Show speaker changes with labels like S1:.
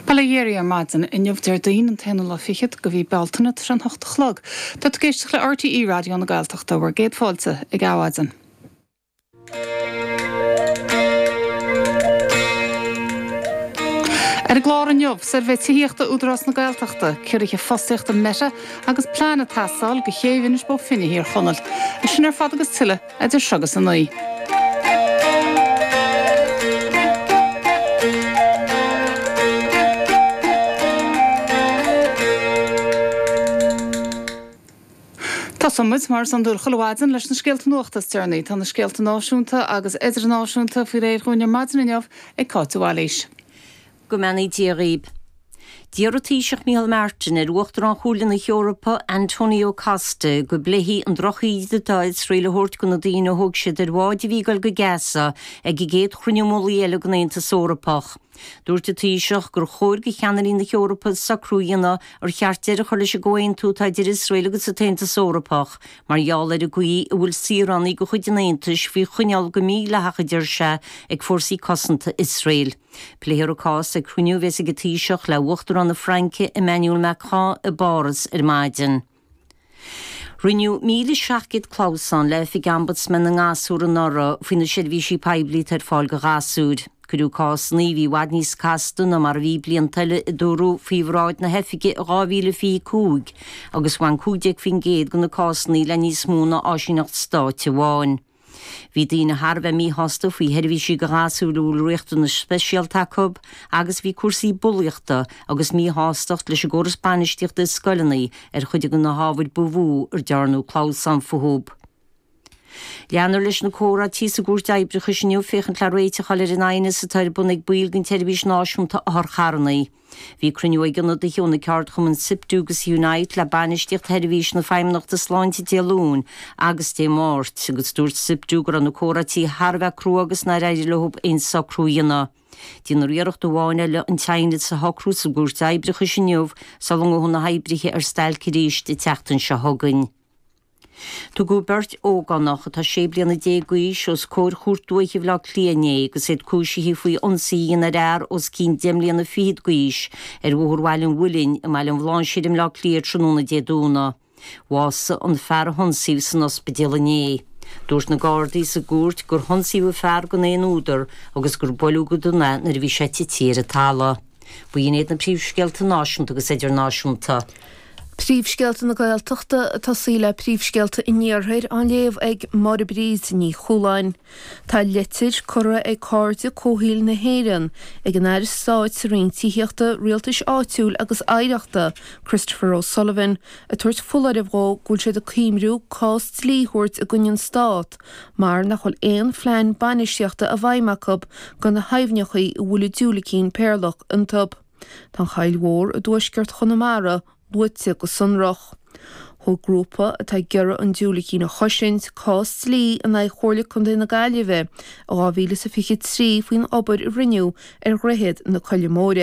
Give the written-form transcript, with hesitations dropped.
S1: Bail ó Dhia oraibh ar maidin inniu Déardaoin an t-aonú lá fichead de mhí Bealtaine tá sé an hocht a chlog. Tá tú ag éisteacht le RTÉ Raidió na Gaeltachta, bhur gcéad fáilte ag Adhmhaidin. Ar an gclár inniu, suirbhé tithíochta Údarás na Gaeltachta, ciorruithe fostaíochta Meta agus plean ag teastáil do chéibh Inis Bó Finne Thír Chonaill. É sin ar fad agus tuilleadh idir seo agus a 9. Tosóidh muid, mar is iondúil chuile mhaidin, leis na scéalta nuachta is deireanaí. Tá na scéalta náisiúnta agus idirnáisiúnta faoi réir dhúinn ar maidin inniu ag Cáit de Bhailís.
S2: Go mbeannaí Dia dhaoib. D'iarr an Taoiseach Micheál Martin ar Uachtarán Chomhairle na hEorpa, Antonio Costa, go bpléifí an drochíde atá Iosrael a thabhairt do na daoine a thóg siad ar bháid a bhí ag dul go Gaza ag an gcéad chruinniú mullaigh eile den Aontas Eorpach. Dúirt an Taoiseach gur chóir do cheannairí na hEorpa socrú a dhéanamh ar cheart deireadh a chur leis an gcomhaontú atá idir Iosrael agus an tAontas Eorpach mar gheall ar an gcaoi a bhfuil saoránaigh de chuid an Aontais faoi choinneáil go mídhleathach, a deir sé, ag fórsaí cosanta Iosrael. Pléifear an cás ag cruinniú a bheas ag an Taoiseach le Uachtarán na Fraince Emmanuel Macron i bPáras ar maidin. Rinneadh 1,700 clamhsán le Oifig Ombudsman na nGasúr anuraidh faoi na seirbhísí poiblí atá ar fáil do ghasúir. Cuireadh cásanna a bhí i bhfad níos casta ná mar a bhí blianta eile a dúradh faoi bhráid na hoifige i 2025 agus bhain 15% de na cásanna le níos mó ná áisíneacht stáit amháin. Bhí daoine thar a bheith míshásta faoi sheirbhísí do ghasúir a bhfuil riachtanais speisialta acu agus bhí cúrsaí bulaíochta agus míshástacht leis an gcóras bainistíochta i scoileanna ar chuid de na hábhair ba mhó ar dearnadh clamhsán fúthu. Leanfar leis na comhráití sa gCúirt Oibreachais inniu féachaint le réiteach a fháil ar an aighneas atá ar bun ag baill den tSeirbhís Náisiúnta Otharcharranna. Bhí cruinniú ag ionadaithe ó na ceardchumainn Siptu agus Unite le bainistíocht sheirbhís na Feidhmeannachta Sláinte Dé Luain agus Dé Máirt agus dúirt Siptu go raibh na comhráití thar a bheith crua agus nár éirigh leo aon socrú a dhéanamh. Déanfar iarracht amháin eile an t-aighneas a shocrú sa gCúirt Oibreachais inniu sula ngabhfaidh na hoibrithe ar stailc arís an tseachtain seo chugainn. Tugadh beirt ógánach atá 16 bliana d'aois os comhair Chúirt Dúiche Bhaile Átha Cliath inné agus iad cúisithe faoi ionsaí a dhéanamh ar fhear os cionn 10 mbliana fichead d'aois ar Bhóthar Bhaile an Mhuilinn i mBaile an Bhláinséir i mBleá Cliath tráthnóna Dé Domhnaigh. Bhásaigh an fear a hionsaíodh san ospidéal inné. Dúirt na Gardaí sa gcúirt gur hionsaíodh an fear gan aon údar agus gur buaileadh go dona é nuair a bhí sé tite ar an talamh. B'in iad na príomhscéalta náisiúnta agus idirnáisiúnta.
S3: Príomhscéalta na Gaeltachta ag tosaí le príomhscéalta an Iarthair á léamh ag Máire Bríd Ní Chualáin. Tá litir curtha ag Cairde Comhshaoil na hÉireann ag an Aire Stáit sa Roinn Tithíochta, Rialtais Áitiúil agus Oidhreachta, Christopher O'Sullivan, ag tabhairt foláireamh dhó go bhfuil siad ag cuimriú cás dlí a thabhairt i gcoinne an Stát mar nach bhfuil aon phlean bainistíochta i bhfeidhm acu do na haibhneachaí a bhfuil an diúilicín péarlach iontu. Tá an Choill Mhór i dtuaisceart Chonamara luaite go sonrach. Thóg grúpa atá ag iarraidh an diúilicín a chosaint cás dlí in aghaidh Chomhairle Contae na Gaillimhe i 2023 faoin obair a rinneadh ar dhroichead na Coille Móire.